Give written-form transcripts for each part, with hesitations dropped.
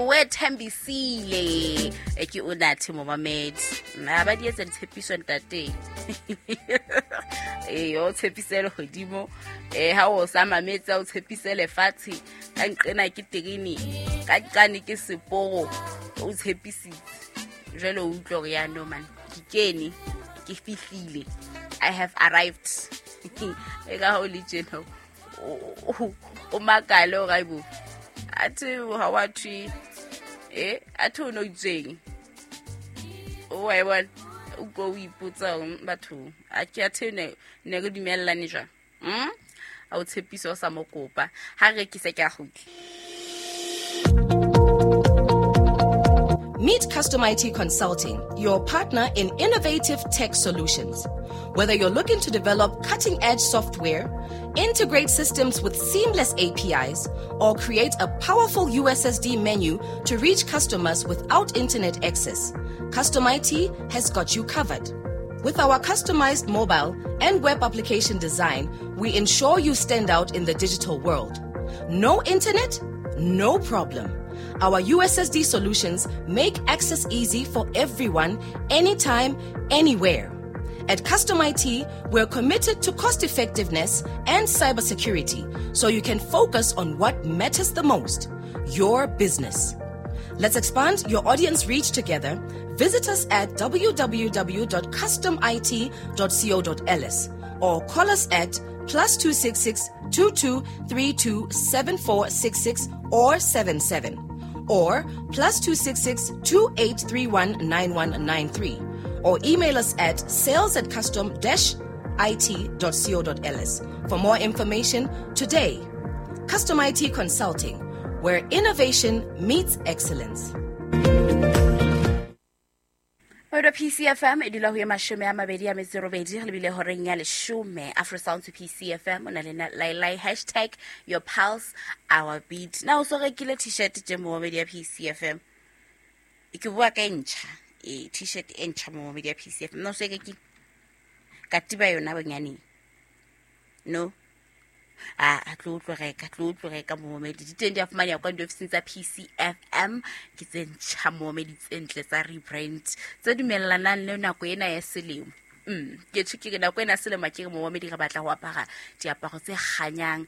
Wethembisile e ke Unathi momamedi. Na ba di etsa ditshepiso ntate. Ee, o tshepise lehodimo, ha o sa mametse o tshepise lefatshe, ka nqena ke terene, ka nqane ke seporo, o tshepisitse. Jwale o utlwe hore ya no man, ke kene, ke fihlile. I have arrived. E ka ha o le tjena o makale hore aibo, athe ha wa thwe, athe o no itseng. O wa e bona, o ko o ipotsa hore batho, a ke athe ne re dumellane jwang? A o tshepisa o sa mo kopa. Ha re rekise ke a kgutla. Meet Custom IT Consulting, your partner in innovative tech solutions. Whether you're looking to develop cutting-edge software, integrate systems with seamless APIs, or create a powerful USSD menu to reach customers without internet access, Custom IT has got you covered. With our customized mobile and web application design, we ensure you stand out in the digital world. No internet? No problem. Our USSD solutions make access easy for everyone, anytime, anywhere. At Custom IT, we're committed to cost effectiveness and cybersecurity, so you can focus on what matters the most, your business. Let's expand your audience reach together. Visit us at www.customit.co.ls or call us at +266 22 32 7466 or 77 or +266 2831 9193 or email us at sales@custom-it.co.ls for more information today. Custom IT Consulting, where innovation meets excellence. Odo PCFM e dula ho ya mashome a mabedi a metso e robedi, re lebile horeng ya leshome. Afro Sounds PCFM o na le Lailai, hashtag your pulse our beat. Na o so rekile t-shirt tje momamedi ya PCFM? Ke bua ka e ntjha, t-shirt e ntjha momamedi ya PCFM. Na o so e rekile? Katiba yona bonyaneng? No. A tlo tlo reka, tlo tlo reka momamedi. Di teng di a fumaneha kwa diofising tsa PCFM, ke tse ntjha momamedi, tse ntle tsa rebrand, tse dumellanang le nako ena ya selemo. Ke tjho ke re nako ena ya selemo ke re momamedi re batla ho apara diaparo tse kganyang,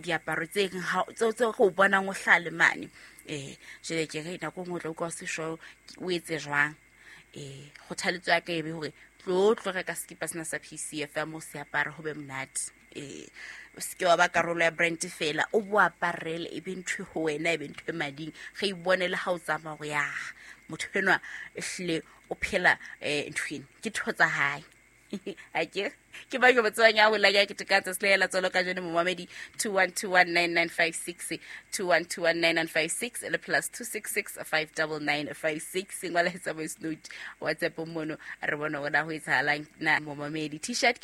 diaparo tse reng ha, tseo tse re o bonang o hlaha le mane. Jwale ke re nako e nngwe o tla utlwa o se sure o etse jwang. Kgothaletso ya ka e be hore tlo tlo reka sekipa sena sa PCFM o se apare ho be monate. O seke wa ba karolo ya brand fela, o bo aparele, e be ntho ho wena, e be ntho e mading. Re ibone le ha o tsamaya hore ya motho enwa ehlile o phela, ntho ena ke tho tsa hae. A ke ke ba ke botsebang ya hola ya ke tekatsa se lela tsolo ka jeno momamedi 21219956, 21219956 le +266 59956. Ngwala etsa voice note WhatsApp mono, re bone hore na ho etsahalang na momamedi. T-shirt.